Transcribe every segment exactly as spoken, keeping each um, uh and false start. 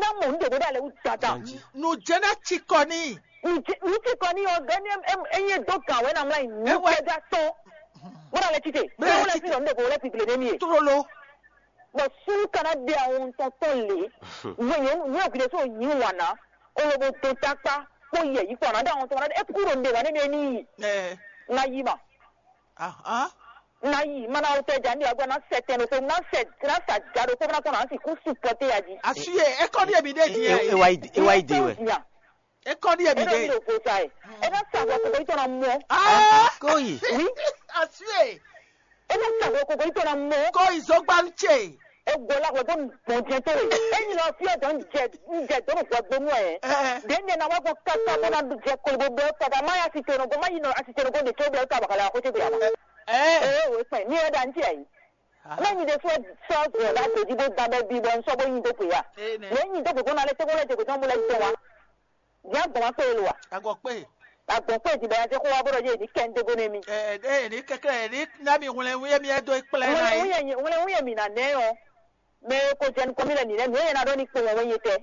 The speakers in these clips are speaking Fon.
Ná mɔ nǔ ɖě bó ɖo alɛ wú dandan. Nǔ jɛ́n ná cikɔ n'i. Nǔ ci kɔ n'i ɔ́, gɛ́ ní é nyí dó gǎn wɛ ná mlá nyi nǔ Ewɛ. Kɛjá tɔn. Bó ɖo alɛ títè. Bó ɖo Bó alɛ lɛ títè. Títè ɔ́, nú ɖě ko lɛ́ titlě n'i é. Trolo. Bɔ súnnu ka ná ɖe awɔntɔn tɔn lě. Nyɔ̌nu nyɔ̌nu gǔdo sɔ́ nyi wǎn ná. Ó ló bó dó tákpá. Kpó yɛ yí kpɔ́n ná ɖe awɔntɔn ná ɖe. É kúkú ɖo nǔɖé wǎn nɛ́ mɛ n'i. Ɛ. Ná yí ma. Ahán. Ná yi, má ná wú tɛ́ ja ní wǎ gbɔ ná sɛ tɛn ɖokpó, ná sɛ ná sa ja ɖokpó ná kɔn ná sixú supɔ́té ya jí. Asúyè, é kɔ́ ní èmi ɖé din E- e- e wá yi dé- e wá yi dé wɛ. Nya, É kɔ́ ní èmi é ɖó ní ɖé. Ɖo vo sa ɛ. É ná sa bɔ kókó yítɔ ná mú ọ́. Ah! Kóyì. Oui, Asúyè. É ná sa bɔ kókó yítɔ ná mú ọ́. Kóyì zɔ́gbánú ce. É gbɔ lá gbɔ tó gbɔn jẹ tó rè. É nyi lɔ fí ɔ́ dɔn jẹ jẹ dó nù gbɔ gbónú ɛ. Ɛ. Ɖě nɛ ná wá gbɔ káká bó ná jẹ kolibo bɛ fada má yá sitɛnɔgɔ má yi nɔ asitɛnɔgɔ ɖe tó bɛ ká bàkàlà àkótó bɛ yà má. Ɛ. Ee, wò kpɛn ní ɛ ɖa ntí ayi. Aha. Mɛ nyi ɖe sɔ sɔ zɔ ɖa tòdzi bó da bɛ bi bɔ nsɔ bó nyi dó pè ya. Ee nɛ. Mɛ nyi dó gbogbo na lɛ tɛgbɛ lɛ dègbè tɔn bó lɛ dɔn wa. Bia gbɔn wa kpé lo wa. Agɔ kpé. Agbɔn kpé di bɛ ya jɛ kó wa bó ɖɔ yé ní kɛ ndégo ne mi. Ɛ ɛ ní kɛkɛ ní ná mi hwlɛn wí mi ɛ dó kplɛ ná Wlɛ yí. Wúyɛ nyi wlɛ wúyɛ mi nà nɛ ɔ. Mɛ e ko jɛ nukɔn mi lɛ nǐ lɛ nǔ e ná ɖɔ ní kpowun wɛ nyetɛ.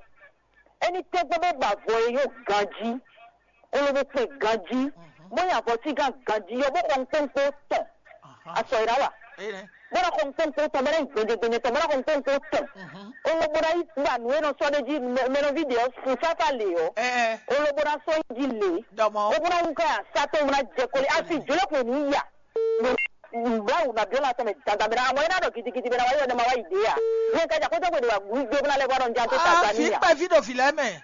Éní tɛ́gbɛ́ bó ba avɔ e nyɔ́ ganjí, kóló bó kpɛn ganjí, bó nyi avɔ sí gán ganjí ɔ́, bó xɔ nukpónukpó tɔn. Asɔ e ná wa. Bó ná xɔ nukpónukpó tɔn, bó ná nyi gbɛjɛgbɛjɛ tɔn, bó ná xɔ nukpónukpó tɔn. Kóló bó ná yi gba nǔ e nɔ sɔ́ ɖ'é jí mɛ- mɛnɔví ɖě ɔ́, sun sáfá lě ɔ́, kóló bó ná sɔ́ yi jí lě. Bó bó ná wú ká ya sá tɔn, bó ná jɛ koli. Asi jǒlɛ́kun e nǔ ya. Báwo na biɔ la tɔn mɛ dandan bɛ na amɔ ina dɔ gidigidi bɛ na wa yɔ ne ma wa yi de ya. Ne ka ja ko jɔ gbe de wa gui gbe bla le bɔ dɔn ja to ta Ah, ta fi ni ya. Kpɛví ɖo vi lɛ́ɛ mɛ.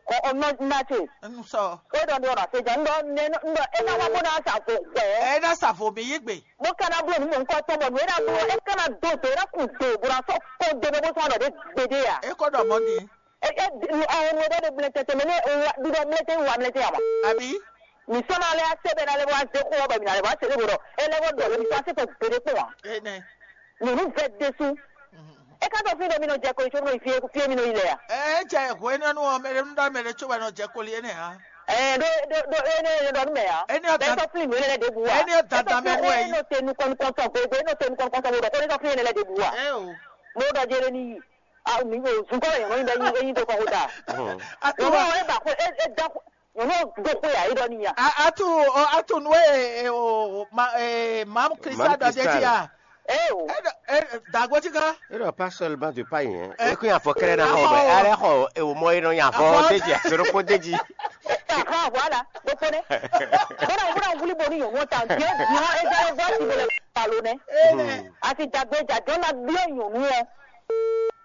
Kɔ ɔnɔ na ce. N sɔ. Ko dɔn do na se ja ndɔ ne ndɔ e na wa bo na sa fo gbɛ. Ɛ na sa fo mi yi gbe. Mo kana blo ni mo nkɔ tɔn bɔ nu e na blo e kana do do e na kun do bro so ko de no bo so na de gbe de ya. E ko dɔ mɔ di. E e nu awo nu e de blo tete me ne wa du dɔ blo te wa blo te ya ma. Abi. Mi sɔ́ ná lɛ́ ase bɛ ná lɛ́ wá zé xó ɔ́ bɔ mi ná lɛ́ wá se ɖé vo ɖɔ é lɛ́ wá ɖɔ lé mi sɔ́ ase tɔn gbeɖé kpɔ́n ǎ. Enɛ. Nyɔ̌nu vɛ ɖésú. É ká tɔ fí ɖɔ mi nɔ jɛ koli có nɔ yi fí fí mi nɔ yi lɛ a? Ɛ jɛ hwenɛ́nu ɔ́ mɛ ɖé nú ɖɔ mɛ ɖé có wɛ nɔ jɛ koli énɛ́ ǎ. Ɛ ɖó ɖó ɖó énɛ́ é ɖɔ nú mɛ ǎ. Énɛ́ ɔ́ Bɛ́ dan- sɔ́ flin nǔ énɛ́ lɛ́ɛ ɖěbǔ ǎ. Énɛ́ ɔ́ É sɔ́ dandan mɛ flin wɛ é yí. Nɔ te nukɔn nukɔn tɔn gbegbé é nɔ te nukɔn nukɔn tɔn bo ɖɔ kó é sɔ́ flin énɛ́ lɛ́ɛ ɖěbǔ ǎ. Ɛ o. Mo ɖɔ jɛ lé ní yi. A mi o zunkɔ yɔn nyi bɛ nyi nyi do kɔ ko da. Atu Nyɔnu wa. Ɔ e ba ko e e da ko nyɔnu do ko ya e dɔ ni ya. A- atu ɔ, atu nu e e o ma e mam Krista Mam dɔ de Krista. Ti ya. E o. E dɔ- e dagbo ti kan. Erɔ pas seulement de païen. Eh. Ekun afɔ kɛrɛ na xɔ Afɔ bɛ o. Alɛ xɔ ewo mɔ enɔ nya Afɔ. Fɔ deji asoro ko deji. Aha, voilà. Gbogbo ne. Bɔn na wuli bo ni nyɔnu ta diɛ diɛ e jɛ e bɔ ti bo le palo ne. Ene. Asi dagbe jajɔ na biɔ nyɔnu ɔ.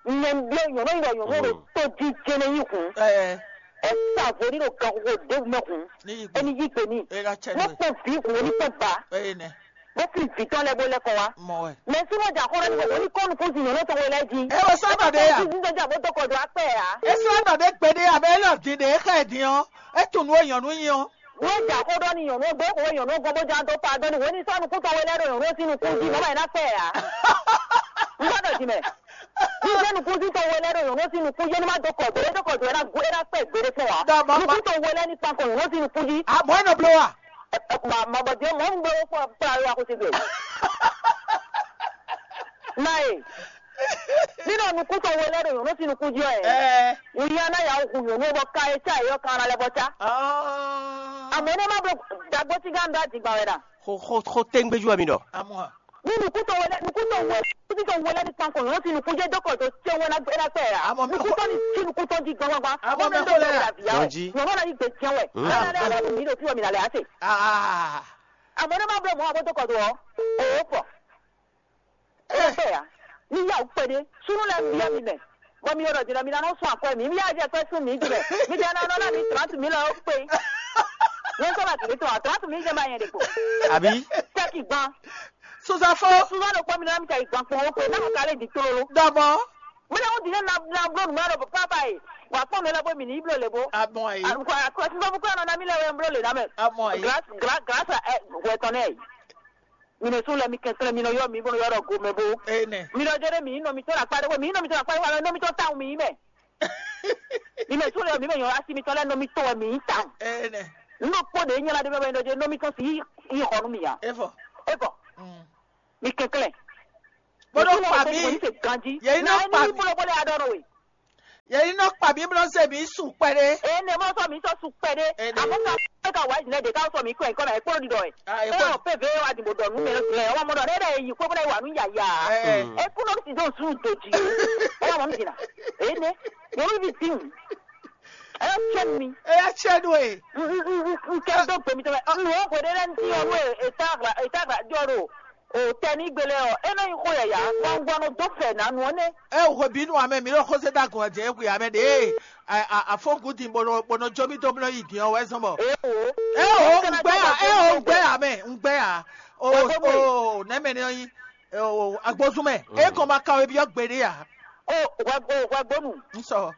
Nyɛ biɔ nyɔnu yi bɔ nyɔnu ɖo to di jɛnɛ yi kun. Ɛɛ. E sa vo ni ɖo gaxoxo de mɛ kun. Ni yi gbe. Eni yi gbe ni. E ka cɛ Mo nɔ. Kpɔ vi kun ni kpɔ ba. Ene. Bó fi vǐ tɔn lɛ́ɛ bó lɛ́ kɔ wá. Mɔ wɛ. Mɛ súnmọ́ jà kɔnɔ ní kò ní kɔnu fún zìnyɔn náà tó wọlé jí. E wɔ sɔ́nà ɖé ya. Ní sísè jà bó tó kɔjú apẹ́ ya. E sɔ́nà ɖé gbeɖé abɛ e lɔ din ɖe e xɛ din ɔ́, e tunnu e nyɔ̌nu nyi ɔ́. Ní jà kó ɖɔ ní nyɔ̌nu gbé kò wé nyɔ̌nu gbɔn bó já tó pa dɔn ní wé ní sɔ́nù kú tɔn wọlé ɖo nyɔ̌nu sí nukún jí mọ́mọ́ iná pẹ́ ya. N gbọ́dọ̀ jì mẹ́. Ní sẹ́ nukún sí tɔn wọlé ɖo nyɔ̌nu sí nukún jí ní má dó kɔjú, é dó kɔjú é ná gbé é ná pẹ́ gbére fún wa. Dɔ̀bọ̀ ma- Nukún tɔn wọlé ní pankọ̀ nyɔ̌nu sí nukún jí. A mɔ̌ e nɔ bló wa. Ma ma bɔ diɛ mɔ ŋgbe wo kpɔ kpla yo ako se gbe. Na ye. Nínú nukúntɔ wo lɛ ɖo nyɔ̌nu sín nukún jí ɔ́ ɛ. Ɛɛ. Wòye aná ya hu nyɔ̌nu bɔ ka e cá yɔ kan na lɛ bɔ cá. Ɔɔ. Àmọ́ ní ẹ má bọ dàgbó tí gán dá dìgbà wẹ̀ dà. Xo xo xo téŋgbéjú wɛ mi ɖɔ. Amɔ. Ní nukúntɔ wo lɛ nukúntɔ wo nukúntɔ wo lɛ ní pankɔ nyɔ̌nu sín nukún jẹ́ dókòtò tí wọ́n ná gbé ná pẹ́ yà. Àmọ́ mi Nukúntɔ ní tí nukúntɔ jí gbọ́ngbọ́ngbọ́n. Àmọ́ mi kò lè rà. Yọ̀njí. Nyɔ̌nu náà yí gbé jẹ́ wẹ̀. Aa. Ẹ lẹ́nu mi ló fi wọ́n mi nà lẹ́ àṣẹ. Aa. Àmọ́ ní má bọ̀ mọ́ àwọn tó kọ̀ tó ọ́. Òwò pọ̀. Ẹ fẹ́ yà. Ní yà ó pẹ́ dé. Súnú lẹ́ ń bí ọ́ mi mẹ́. Bọ́ mi yọ̀rọ̀ jìnnà mi náà sún àkọ́ mi. Mi yà jẹ́ pẹ́ sún mi jìnnà. Mi jẹ́ náà náà mi trente mille ó pé. Ní sọ́ba kìí tó trente mille jẹ́ bá yẹn dè kó. Àbí? Tẹ́kì gbọ́n. Suzafo. Suzafo kpɔ mi náà mi tẹ́kì gbọ́n kpọ́n ó pé náà kálẹ̀ di tólo. Dɔbɔ. Mílẹ̀ ń dìde na na blo nùmọ́ lọ pápá yìí. Wà á pọ̀ mi lọ bó mi ní iblo lè bó. Àmọ́ yìí. Àkọ́ àkọ́ tí bá bó kúrò náà mi lẹ̀ wẹ̀ ń blo lè náà mẹ́. Àmọ́ yìí. Grâce grâce grâce à ẹ wẹ̀ tán náà yìí. Mi nɔ sún lɛ mi kɛnklɛn mi nɔ yɔ mi bó nɔ yɔ dɔ gomɛ bó. Ene. Mi nɔ jɛ ɖe mi nɔ mi tɔn akpa ɖe mi nɔ mi tɔn akpa ɖe mi nɔ mi tɔn tawun mi mɛ. Mi mɛ sún lɛ mi mɛ nyɔ asi mi tɔn lɛ nɔ mi tɔn wɛ mi tawun. Ene. N nɔ kpɔ ɖe nyala ɖe mɛ nɔ jɛ nɔ mi tɔn si yi xɔ nu mi ya. Evɔ. Evɔ. Mm. Mi kɛnklɛn. Bó nɔ kpa mi. Ganji. Yɛ yi nɔ kpa mi. Bolo bolo ya dɔ nɔ we. Yě ní nɔ kpa mǐ bló se mǐ su kpɛɖé. Eye ne mɔ sɔ mi sɔ su kpɛɖé. Ene. Amɔ ka ka ka wa jìnnà ɖe ka sɔ mi kɔ ɛkɔ na ɛkpɔ ɖi dɔ ɛ. Ah, eye ɛkpɔ. Ɔ pe ve wa di mo dɔ nu mɛ lɛ ɔmɔ dɔ ne ɖe yi kpɔ bla wa nu yaya. Eh. E kun nɔ si dɔ su do ji. Ɔ mɔ mi jìnnà. Eye ne yɔ mi bi ti mu. Ɛ tiɛ mi. Eya tiɛ do e. N kɛ dɔ gbe mi tɔ mɛ. N wɔ gbe ɖe lɛ n ti yɔ nu e ta gra e ta gra jɔ ɖo. O tɛ ní gbélé ɔ, é nɔ nyí xó yaya, gbɔngbɔn nɔ dó fɛ nǎ nu ɔ́ nɛ́. É hwe bǐ nu amɛ mǐ ɖo xózé dó agɔn jɛ hwe amɛ ɖě afɔ́ngudin bó nɔ bó nɔ jó mì dó bló yi din ɔ́ wɛ zɔn bɔ. Éwo. É o ŋgbɛ ya, é o ŋgbɛ ya mɛ ŋgbɛ ya. O o nɛmɛ ni ɔnyi o agbózún mɛ é kɔn ma kan wé byɔ́ gbeɖé ya. O hwɛ o hwɛ gbónú. N sɔ.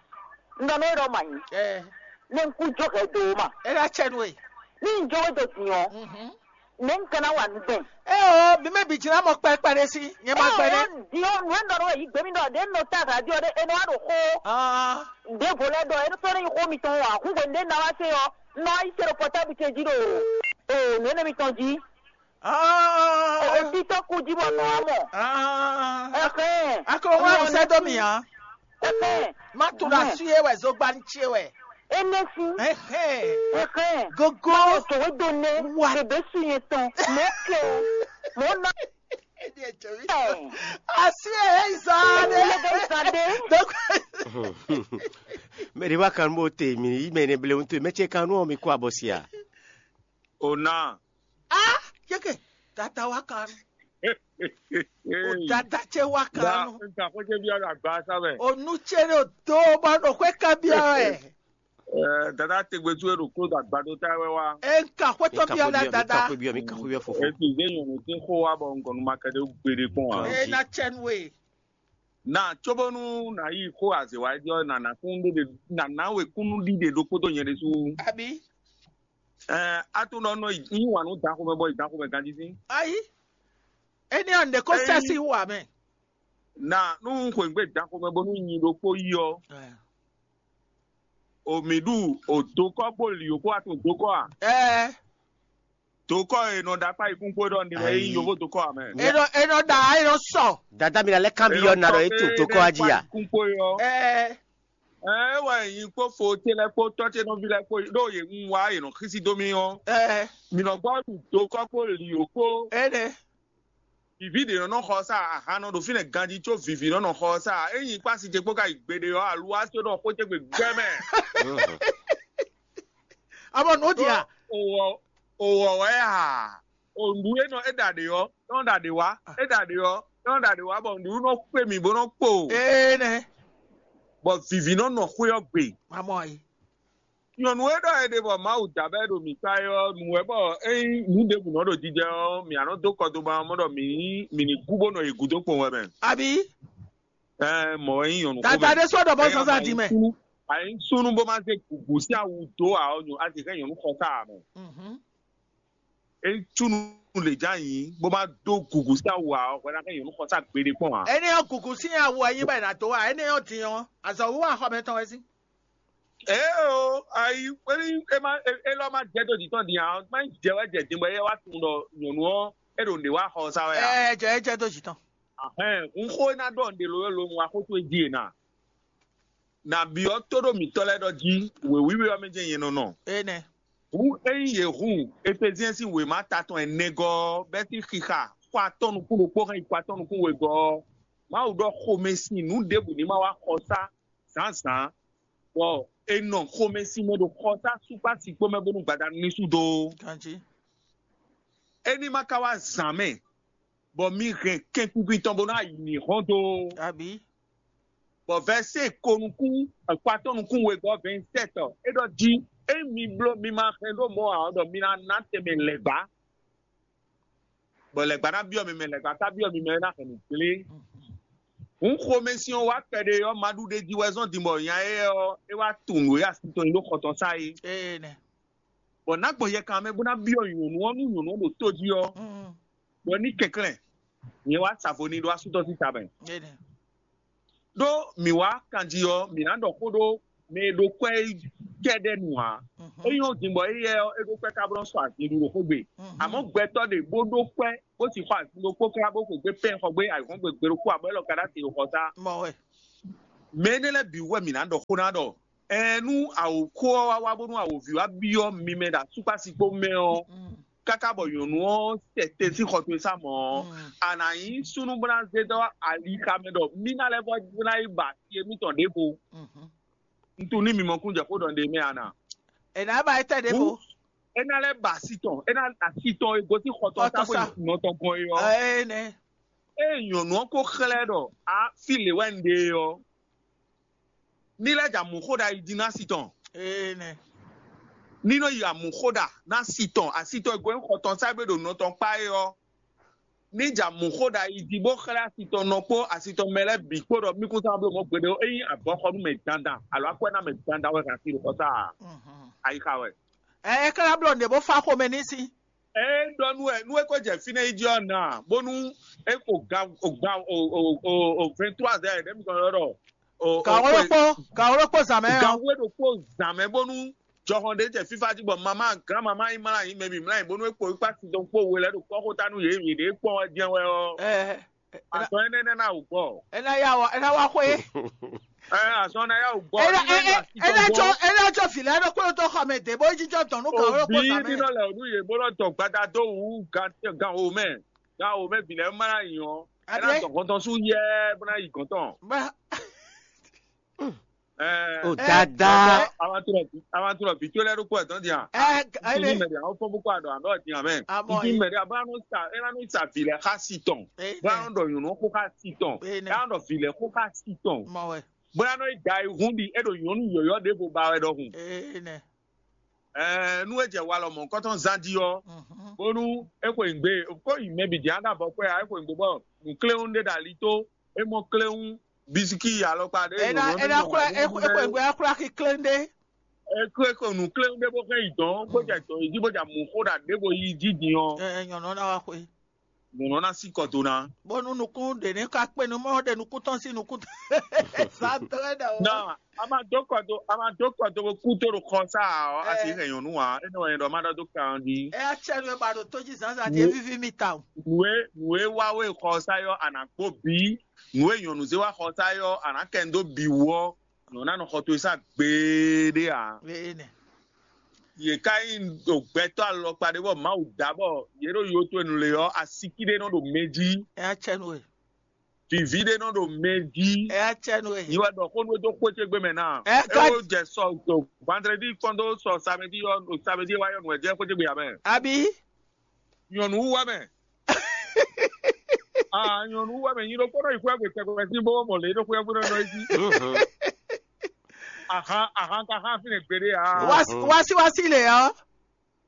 N dɔ n'o ɖɔ ma nyi. Ɛ. Ne n kú jó hɛ do ma. É ɖo acɛ nu e. Ní n jó wé do din ɔ́. Mhm. Ne n kana wa nu gbɛn. Eo, mi mɛ bi jina mɔ kpɛkpɛ ɖe si, nyɛ ma gbɛ ɖe. Dio nu e nɔ ɖo yi gbemi ɖɔ ɖe nɔ ta radio ɖe e nɔ wa ɖo xo. Ah. Ɖe vo lɛ ɖɔ e nɔ tɔ ne yi xo mi tɔn wa hu gbe ɖe na wa se ɔ nɔ ayi se ɖo portable ce ji ɖo o nu ene mi tɔn ji. Ah. O ti tɔ ku ji bɔ nɔ wa mɔ. Ah. Ɛhɛn. Akɔ wa sɛ dɔ mi ya. Ɛhɛn. Má tu ɖo asi é wɛ, zogban ce wɛ. Énɛ́ sín. Ɛhɛn. Ɛhɛn. Gogo. Má lọ tòwé do nɛ. Wa. Bèbè su yẹn tɔn. Mɛ kɛ o. Mɔ ná. Asi é zan de. Ɛhɛn. Zan de. Donc. Mɛ de wa kan bó te mi yi mɛ ne ble ŋutɔ mɛ ce kan nú mi kó abɔ sia. O ná. Ah, yeke. Tata wa kan. O dada ce wa kan. Nka xwé ce biɔ ɖo agba sa mɛ. O nu ce ɖo do bɔ ɖo xwé kan biɔ ɛ. Dada tegbe tu e ɖo klo ɖo agbadó ta wɛ wa. E nka xwé tɔ biɔ ɖe dada. Esi ze nyɔnu tí xó wa bɔ ŋgɔnu ma kɛ ɖe gbeɖe kpɔn wa. E na cɛ nu e. Na tso bónú nǎ yi xó azě wá é ɔ́, nǎ ná kúnnu ɖé nǎ ná we kúnnu ɖiɖe ɖokpó dó nyɛ ɖésú. Abi. Ɛɛ, a tunɔ nɔ yi yí wǎn nú danxomɛ bɔ yi danxomɛ ganjí sín. Ayi. Énɛ́ ɔ́, nǔɖé kó sɛ́ sín wú ǎ mɛ. Na nú un xweyǐgbe danxomɛ bónú nyi ɖokpó yi ɔ́, o mǐ ɖu o dokɔ́ kpó lǐ kpó a tunwun dokɔ́ a? Ɛɛ. Dokɔ́ e nɔ ɖo akpá yìkún kpó ɖɔ ní wɛ yí yovó dokɔ́ ǎ mɛ. E nɔ e nɔ ɖa e nɔ sɔ. Dada mi la lɛ kan bi yɔ na ɖɔ e to dokɔ́ a jí a? Yìkún kpó yɔ. Ɛɛ. Ɛɛ wɛ nyi kpó fo ce lɛ kpó tɔ́ ce nɔví lɛ kpó ɖó yě ń wá yě nɔ xísí dó mì ɔ́. Ɛɛ. Mǐ nɔ gbɔ ɖu dokɔ́ kpó lǐ kpó. Ɛnɛ. Vivi ɖě nɔ nɔ xɔ sá ahan nɔ ɖo fínɛ́ ganjí có vivi nɔ nɔ xɔ sá ényí kpási ce kpó ka yi gbeɖe ɔ́ aluwa só ɖɔ xó ce gbe gbɛ mɛ. Abɔ nǔ dia. Owɔ owɔ wɛ ha. Ondu e nɔ e ɖa ɖe ɔ́, e nɔ ɖa ɖe wá, e ɖa ɖe ɔ́, e nɔ ɖa ɖe wá bɔ nǔɖuɖu nɔ kpé mì bó nɔ kpo. Ee nɛ. Bɔ vivi nɔ nɔ xwé ɔ́ gbe. Mamɔ yi. Nyɔ̌nu e ɖɔ è ɖe bɔ Mawu da bɔ é ɖo mǐ kpá é ɔ́, nǔ wɛ bɔ ényí nǔ ɖěbǔ nɔ ɖo jijɛ ɔ́, mǐ nɔ dó kɔ dó ba ɔ́ mɔ ɖɔ mǐ ní mǐ ní gú bó nɔ yi gǔdo kpɔn wɛ mɛ. Abi. Ɛɛ mɔ̌ wɛ nyí nyɔ̌nu xó mɛ. Dada ɖé sɔ́ ɖɔ bɔ zazá di mɛ. Ayi súnú bó má zé gǔgú sín awu dó ǎ ɔ́, a sì hɛn nyɔ̌nu xɔ ká ǎ mɛ. Mhm. Ényí súnú lě já nyǐ bó má dó gǔgú sín awu ǎ ɔ́, hwɛ ná hɛn nyɔ̌nu xɔ sá gbeɖé kpɔn ǎ. Énɛ́ ɔ́ gǔgú sín awu ɛ nyí bɔ è nǎ dó ǎ, énɛ́ ɔ́ din ɔ́, azɔ̌ wíwá xɔ mɛtɔn wɛ sín. Ee o, ayi é má é lɔ má jɛ dó jǐ tɔn din ǎ, má nyí jɛ wɛ jɛ din bɔ é wá tunwun ɖɔ nyɔ̌nu ɔ́ é ɖo nǔɖé wá xɔ sá wɛ ǎ. Ɛ jɛ é jɛ dó jǐ tɔn. Ahɛn, un xó e ná ɖɔ nǔɖé ló ló un wá xó towe jí e na. Na byɔ́ tóɖó mǐtɔn lɛ́ɛ ɖɔ jí wěwíwé ɔ́ mɛ jɛ́n nyɛ nɔ nɔ. Énɛ́. Hǔn ényí yě hun Efezyɛn sín wěma ta tɔn ɛnɛgɔ́ ɔ́, bɛ́ sín xixa xɔ atɔ́ nukún ɖokpó hɛn yi xɔ atɔ́ nukún wegɔ́ ɔ́, Mawu ɖɔ xomɛsin nǔ ɖěbǔ ní ma wá xɔ sá zǎnzǎn, bɔ è nɔ xomɛsin mɛ ɖo xɔsá súkpá sikpó mɛ bónú gbadanu ní sú dó. Ganjí. É ní ma ka wá zǎn mɛ, bɔ mi hɛn kɛnkunkun tɔn bó ná yi mǐ hɔn dó. Abǐ. Bɔ vɛ̌sɛn ko nukún akpatɔ́ nukún wegɔ́ vɛ̌nsɛ́tɔ é ɖɔ jí, ényí mi bló mi ma hɛn ɖó mɔ̌ ǎ ɔ́, ɖɔ mi ná ná tɛnmɛ lɛ̌gbá. Bɔ lɛ̌gbá ná byɔ́ mi mɛ, lɛ̌gbá ka byɔ́ mi mɛ é ná hɛn nǔ gblé. Hǔn xomɛsin ɔ́ wá kpɛɖé ɔ́, ma ɖu ɖe jí wɛ zɔ́n din bɔ nya éyɛ́ ɔ́, é wá tunwun nǔ e asi tɔn nyí ɖó xɔ tɔn sá é. Ee nɛ. Bɔ nǎ gbɔn yɛkan mɛ bó ná byɔ́ nyɔ̌nu ɔ́ nú nyɔ̌nu ɔ́ ɖo tó jí ɔ́, Mm. bɔ ní kɛnklɛ́n. Nyɛ wá sa vo n'i ɖó asú tɔn sín ta mɛ. Ee nɛ. Ɖó mǐ wá kanjí ɔ́, mǐ ná ɖɔ xó ɖó mɛ e ɖo kwɛ́ kɛ́ɖɛ́ nu ǎ. Mhm. É nyɔ́ din bɔ éyɛ́ ɔ́, é ɖó kwɛ́ ká bó nɔ́ sɔ azin ɖu ɖo xó gbe. Mhm. Àmọ́ gbɛtɔ́ ɖě bó ɖó kwɛ́ bó sì xɔ azin ɖokpó ká bó xwegbe pɛ́n xɔ gbé ayǐhɔ́ngbe gbe ɖokpó ǎ, bɔ élɔ́ ka ɖó ati ɖo xɔ sá. Mɔ wɛ. Mɛ énɛ́ lɛ́ɛ bǐ wɛ mǐ ná ɖɔ xó ná ɖɔ, ɛɛn nú awǒxó ɔ́ wá wá bónú awǒvi wá byɔ́ mi mɛ ɖo asúkpási kpó mɛ ɔ́, káká bɔ nyɔ̌nu ɔ́ sɛ te sín xɔ towe sá mɔ̌ ɔ́, a nǎ nyí súnnu bó ná zé dó alixa mɛ ɖɔ mí ná lɛ́ vɔ́ ná yi ba asi émítɔn ɖěvo. Un tunwun ní mi mɔ kún jɛ xó ɖɔ ɖe mɛ a nǎ. È nǎ ba étɛ́ ɖěvo. É ná lɛ́ ba asi tɔn, é ná asi tɔn e gosín xɔ tɔn sá bó yi nɔ tɔn gɔn é ɔ́. Ée nyɔ̌nu ɔ́ ko xlɛ́ ɖɔ a fí lě wɛ un ɖe é ɔ́, ní lɛ́ jɛ amǔxó ɖa yi din ná si tɔn. Ní nɔ yi amǔxó ɖa ná si tɔn, asi tɔn e gosín xɔ tɔn sá bó ɖo nɔ tɔn kpá é ɔ́, ní jɛ amǔxó ɖa yi din bó xlɛ́ asi tɔn nɔ kpó asi tɔn mɛ lɛ́ɛ bǐ kpó ɖɔ mí kún sá bló mɔ̌ gbeɖé ó. Ényí abɔxɔnú mɛ dandan alo akwɛ́ná mɛ dandan wɛ hɛn asi ɖo xɔ sá a, ayixa wɛ. Ɛ é ka ná bló nǔɖé bó fá xomɛ n'i sín. É ɖɔ nú wɛ nú é ko jɛ fínɛ́ yi jí ɔ́ na, bónú é ko ga o ga o o o o vingt-trois heures ɖě mi kɔn ɖɔ ɖɔ o o Gǎn wé ɖokpó, gǎn wé ɖokpó zǎn mɛ ɔ́. Gǎn wé ɖokpó zǎn mɛ bónú jɔhɔn ɖé jɛ fífá jí bɔ mamá gán mamá yi mlá yi mɛ mi mlá yi bónú é kpo yi kpá sin dɔn kpó we lɛ́ ɖo kɔ́xó ta nú yě yě ɖě kpɔ́n wɛ jɛ́n wɛ ɔ́. Ɛ Azɔn énɛ́ nɛ́ ná wǔ gbɔ. É ná yá wɔ é ná wá xwé. Ɛ azɔn ná yá wǔ gbɔ. É ná é é é ná jɔ é ná jɔ vǐ lɛ́ɛ ɖokpó ɖo tó xɔ mɛ dě bó yi jínjɔ́n dɔn nú gǎn wé ɖokpó Òbí zǎn mɛ. Nínɔ lɛ ònú yě bó nɔ dɔ gbada dó wǔ gan gan wò mɛ gan wò mɛ vǐ lɛ́ɛ má ná nyǐ ɔ́. É ná Abiyɛ dɔ gɔntɔn sú yɛ́ bó ná yi gɔntɔn. Bá Ɛ O ɛ dada. Awantu lɔ vǐ tó lɛ́ɛ ɖokpó ɛ dɔn din a. Ɛ Títí ɛ mɛ ɖe àwọn fɔn bó kó àdɔ àbẹ ọ̀dìn àmẹ. Àmọ́ Títí yìí. Mɛ ɖe àbá nù sa ẹ nà nù sa vǐ lɛ xá si tɔn. Ɛ Bó nɛ. Anɔ ɖɔ nyɔ̌nu xó xá si tɔn. Ɛ nɛ. Ẹ anɔ ɖɔ vǐ lɛ xó xá si tɔn. Mɔ wɛ. Bó anɔ yi da ihun ɖi ɛ ɖo nyɔ̌nu yɔ̌yɔ́ ɖěvo ba wɛ ɖɔhun. Ɛ nɛ. Ɛɛ nú é jɛ walɔ mɔ̌hunkɔtɔn zán jí ɔ́, Mhm. Bónú é xweyǐgbe kó yi mɛ bǐ jɛ́n á ɖo avɔ kpɛ́ ǎ, é xweyǐgbe bɔ nǔkléwún ɖé ɖo ali tó, é mɔ kléwún, bisiki alɔkpa ɖé Ena ena xwlá exwegbe ná xwlá xi klɛ́n ɖé. É xwé ko nǔkléwún ɖé bó xɛn yi dɔn, bó jɛ dɔn yi jí bó jɛ amǔ xó ɖo aɖěvo yi jí din ɔ́, Ɛ nyɔ̌nu ná wá xwé. Nyɔ̌nu ná sí kɔ do ná. Bónú nukún ɖě ní ka kpé nú mɔ ɖe nukún tɔn sín nukún tɔn. Zǎn dó wɛ ɖe o. Nɔ a ma dó kɔ do a ma dó kɔ do bó kú tó ɖo xɔ sá ɔ́, a sì hɛn nyɔ̌nu ǎ, énɛ́ wɛ nyɛ ɖɔ má ɖɔ dó kan ɔ́ jí. Ɛ acɛnu e ba ɖo tó jí zǎnzǎn jí é víví mi tawun. Nǔ e nǔ e wá wé xɔ sá yɔ́ a nǎ kpó bǐ, nǔ e nyɔ̌nu zé wá xɔ sá yɔ́ a nǎ kɛ nú dó bǐ wú ɔ́, nyɔ̌nu ná nɔ xɔ towe sá gbeɖé ǎ. Énɛ́. Yě ká nyí ɖo gbɛtɔ́ alɔkpa ɖé bɔ Mawu dǎ bɔ yě ɖo yo towe nu lě ɔ́, asíkí ɖé nɔ ɖo mɛ jí. Ɛ acɛnu e. Vǐví ɖé nɔ ɖo mɛ jí. Ɛ acɛnu e. Nyi wɛ ɖɔ xó nú é dó xwé ce gbe mɛ ná. Ɛ É ká- wo jɛ sɔ do vandredi kpɔn dó sɔ samedi ɔ́, samedi e wá yɔ nǔ wɛ jɛ xwé ce gbe amɛ. Abi. Nyɔ̌nu wú wá mɛ. Ah, nyɔ̌nu wú wá mɛ. Nyi ɖokpó nɔ yi xwé agbe tɛgbɛ sín bó mɔ lě ɖo xwé agbe nɔ nɔ yi jí. Ahan ahan ka xá fínɛ gbeɖé a. Wasi wasi le ɔ́.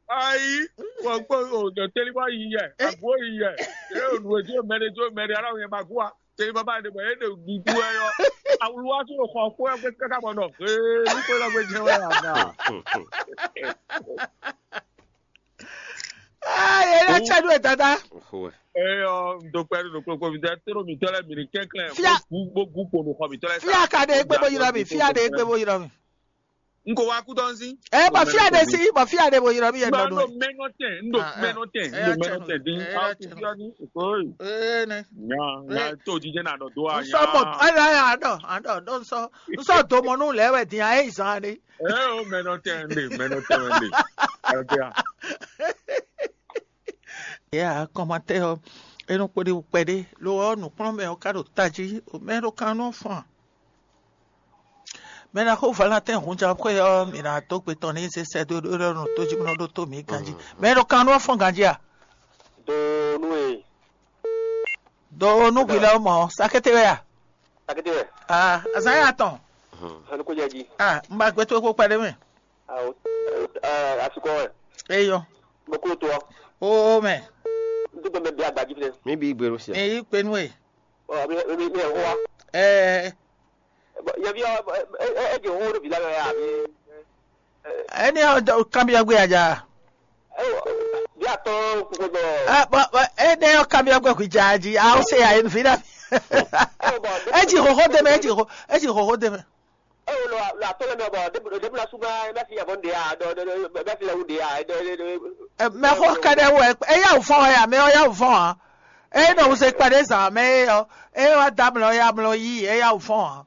Ayi, wɔ kpó o dɔ teli bɔ yi yɛ, agbo yi yɛ. Ye o nu edzo mɛ ɖe dzo mɛ ɖe ala yɛ ma gua. Teli baba ɖe bɔ ye ɖe dudu wɛ yɔ. Awulu wa so xɔ kpó ɛgbɛ kaka bɔ nɔ. Ee, nu kpó lɔ gbé jɛ wɛ ya na. Ah, ye la tsa do dada. Eyɔ, ndo kpɛ do kpokpo mi tɛ toro mi tɔ lɛ mi ni kɛnklɛn. Fia. Bo gu bo gu kpo nu xɔ mi tɔ lɛ. Fia ka de egbe bo yira mi. Fia de egbe bo yira mi. N ko wá kú tɔn sí. Ɛ bɔ fia de si bɔ fia de bo yira mi yɛ N nɔ do do. Mɛnɔ tɛ, n do Ah, ah. Mɛnɔ tɛ, n do Ɛ, mɛnɔ tɛ din. Ɛ, Aw ti fia ni. Oyi. Ee ne. Nya nya to jijɛ na dɔ do a N sɔ mɔ nya. Ala ya dɔ an dɔ dɔ n sɔ n sɔ do mɔ nu lɛ wɛ din a ye zan ni. Ɛ o mɛnɔ tɛ n de, mɛnɔ tɛ n de. Ɛ bia. Ya kɔmatɛ ɔ enu kpɔɖi kpɛɖi lo ɔ nukplɔnmɛ ɔ ka ɖo tají o mɛ ɖo kan nɔ fɔn. Mɛ na xo Valentin hunjá xwe ɔ mi na dó gbe tɔn ní se sɛ dó ɖó ɖó nɔ tó jí nɔ ɖó tó mi ganjí. Mɛ ɖo kan nɔ fɔn ganjí a? Do nú e. Do nú gbilɛ mɔ sakete wɛ a? Sakete wɛ. Ah, azan ya tɔn. Anu ko jaji. Ah, n ba gbɛ tó kó kpɛɖe mɛ. Awo. Asikɔ wɛ. Eyɔ. Mo ko to. O mɛ. N tó tɔ mɛ bí agbaji fɛ. Mi bi gbèrú sí. Mi yi kpenu e. Ɔ mi mi mi ɛ wá. Ɛɛ. Yɛ bi ɔ ɛ ɛ ɛ jɛ wo ɖo bi la yɔ ya bi. Ɛni ɔ kanbiɔ gbé aja. Bí atɔ kúkú dɔ. Ɛ bɔ bɔ ɛni ɔ kanbiɔ gbé kú ja ji awo se ya yenu fi na. Ɛ ji xoxo dɛmɛ ɛ ji xo ɛ ji xoxo dɛmɛ. Ɛ wo lɔ lɔ atɔ lɛ mɛ bɔ debu debu la suma ɛ bɛ fi yabɔ nde ya dɔ dɔ dɔ bɛ fi la wu de ya dɔ dɔ. Mɛ xɔ kɛɖɛ wɔ ɛ ya wò fɔn ya mɛ ɔ ya wò fɔn a. Ɛ nɔ wuse kpɛɖe zan mɛ ɛ ɔ ɛ wa da mlɔ ya mlɔ yi ɛ ya wò fɔn a.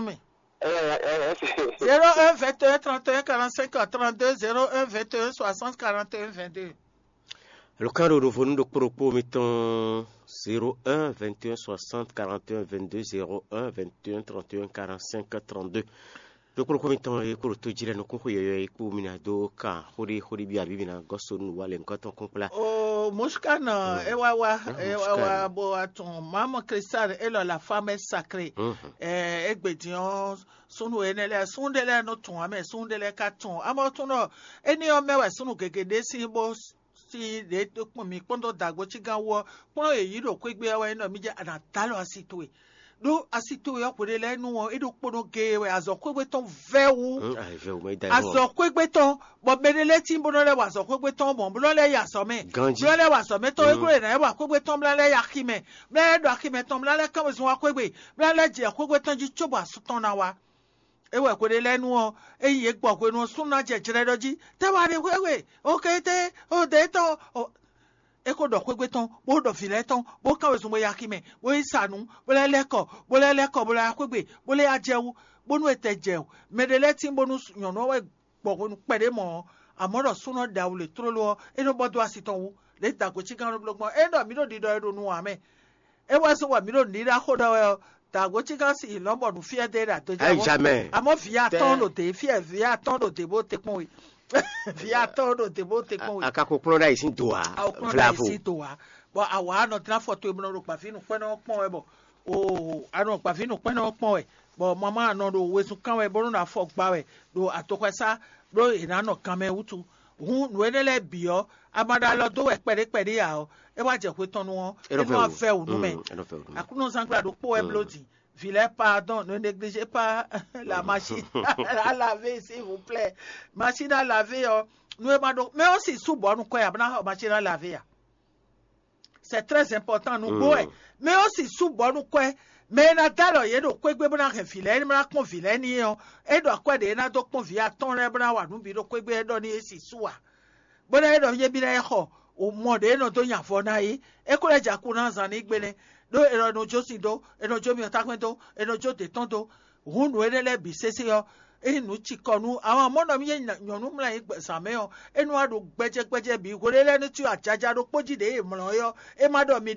nú mì. Zéro un vingt et un trente et un quarante-cinq trente-deux, zéro un vingt et un soixante quarante et un vingt-deux. Luka ɖo ɖovo nú ɖokpó ɖokpó mitɔn zéro un vingt et un soixante quarante et un vingt-deux, zéro un vingt et un trente et un quarante-cinq trente-deux. Ɖokpó ɖokpó mitɔn e kpo ɖo tó jí lɛ́ɛ nukún xwe yɔyɔ e kpo mi ná dó kan xóɖé xóɖé byɔ́ abǐ mi ná gɔ́ so nú wa lɛ nukɔn tɔn kún kplá. O Mushkan, e wá wá, e wá wá bó wá tún Mamu Cristal e lɔ la femme sacrée. E gbe din ɔ́, súnnu énɛ́ lɛ́ɛ, súnnu ɖé lɛ́ɛ nɔ tún amɛ, súnnu ɖé lɛ́ɛ ka tún amɔ tún ɖɔ éní ɔ́ mɛ wɛ súnnu gěgé ɖé sín bó sín ɖě kpɔ́n mǐ kpɔ́n dó dǎgbó cígán wú ɔ́, kplɔ́n yě yí ɖo xwé gbe ɔ́ wɛ é nɔ mì jɛ a nǎ dó alɔ asi towe. Ɖó asi towe ɔ́ hweɖé lɛ́ɛ nu ɔ́, é ɖo kpónɔ géé wɛ azɔ̌ xwégbé tɔn vɛ́ wú. Azɔ̌ xwégbé tɔn, bɔ mɛ ɖé lɛ́ɛ tín bó nɔ lɛ́ wa azɔ̌ xwégbé tɔn mɔ̌ bó nɔ lɛ́ yi azɔ̌ mɛ. Ganjí. Bó nɔ lɛ́ wa azɔ̌ mɛ tɔn é gló è nǎ yi wa xwégbé tɔn bó ná lɛ́ yi axi mɛ, bó ná lɛ́ ɖo axi mɛ tɔn bó ná lɛ́ kán wezun wá xwégbé, bó ná lɛ́ jɛ xwégbé tɔn jí cóbɔ asú tɔn ná wá. É wɛ hweɖé lɛ́ɛ nu ɔ́, ényí yě gbɔ hwenu ɔ́, súnnu ná jɛ jlɛ́ ɖɔ jí, tɛ́ wá ɖe xwé we, okété, odě tɔn. É ko ɖɔ xwégbé tɔn, bó ɖɔ vǐ lɛ́ɛ tɔn, bó kán wezun bó yi axi mɛ, bó yi sa nǔ, bó lɛ́ lɛ́ kɔ, bó lɛ́ lɛ́ kɔ, bó lɛ́ wá xwégbé, bó lɛ́ yá jɛ wú, bónú è tɛ jɛ o. Mɛ ɖé lɛ́ɛ tín bónú nyɔ̌nu ɔ́ wɛ gbɔ hwenu kpɛɖé mɔ̌ ɔ́, amɔ̌ ɖɔ súnnu ɔ́ ɖe awu lě tlóló ɔ́, é nɔ bɔ dó asi tɔn wú. Lě dǎgbo cígán nɔ bló gbɔn, é ɖɔ mǐ ɖo ɖiɖɔ e ɖo nu ǎ mɛ. É wɛ zɔ́n wɛ mǐ ɖo nǔɖiɖa xó ɖɔ wɛ ɔ́, dǎgbo cígán sin lɔ̌nbɔnu fí ɛ dé ɖo adɔjá Ayi jamɛ. Amɔ̌ vǐ atɔ́ɔ́n ɖo dě fí ɛ vǐ atɔ́ɔ́n ɖo dě bó te kpɔ́n we. Vǐ atɔ́ɔ́n ɖo dě bó te kpɔ́n we. Akakokplɔ́n ɖo ayǐ sín do ǎ. Awokplɔ́n ɖo ayǐ sín do ǎ. Bɔ awǎ nɔ dlán afɔ towe bó nɔ ɖo gbǎví nǔkpɛ́nɔ ɔ́ kpɔ́n wɛ bɔ oo a nɔ gbǎví nǔkpɛ́nɔ ɔ́ kpɔ́n wɛ, bɔ mamá nɔ ɖo wezun kán wɛ bó nɔ́ ɖo afɔ gba wɛ ɖo atoxwɛsá, ɖó è nǎ nɔ ganmɛ wútu. Hǔn nǔ énɛ́ lɛ́ɛ bǐ ɔ́, a ma ɖo alɔ dó wɛ kpɛɖé kpɛɖé ǎ ɔ́, é wá jɛ hwe tɔn nu ɔ́, é nɔ vɛ wú. Vɛ wǔ nú mɛ. Mm, é nɔ vɛ wú nú mɛ. Aklúnɔzán gbla ɖokpó wɛ bló din. Vǐ lɛ́ɛ pardon, ne négligez pas la machine à laver, s'il vous plaît. Machine à laver ɔ́, nú é ma ɖó mɛ ɔ́ si sú bɔ nukɔn ya bó ná xɔ machine à laver ya. C'est très important nú gbó wɛ. Mɛ ɔ́ si sú bɔ nukɔn ɛ, mɛ e ná dó alɔ yě ɖo xwégbé bó ná hɛn vǐ lɛ́ɛ bó ná kpɔ́n vǐ lɛ́ɛ ní é ɔ́, é ɖo akwɛ́ ɖě é ná dó kpɔ́n vǐ atɔ́ɔ́n lɛ́ɛ bó ná wa nǔ bǐ ɖo xwégbé é ɖɔ ní é si sú ǎ. Bó ná é ɖɔ yé bí ná é xɔ o mɔ ɖě é nɔ dó nya avɔ ná é, é ko lɛ́ jɛ akú ná zan ní gbe nɛ́, ɖó è nɔ jó sin dó, è nɔ jó myɔtákpɛ́n dó, è nɔ jó dě tɔn dó. Hǔn nǔ énɛ́ lɛ́ɛ bǐ sésé ɔ́, ényí nǔ cikɔ nú àwọn amɔ̌ nɔ mì nyɔ̌nu mlá nyí zǎn mɛ ɔ́, é nɔ wá ɖo gbɛjɛgbɛjɛ bǐ hweɖé lɛ́ɛ nú cyɔ ajaja ɖokpó jí ɖě e mlɔ́ é ɔ́, é má ɖɔ mi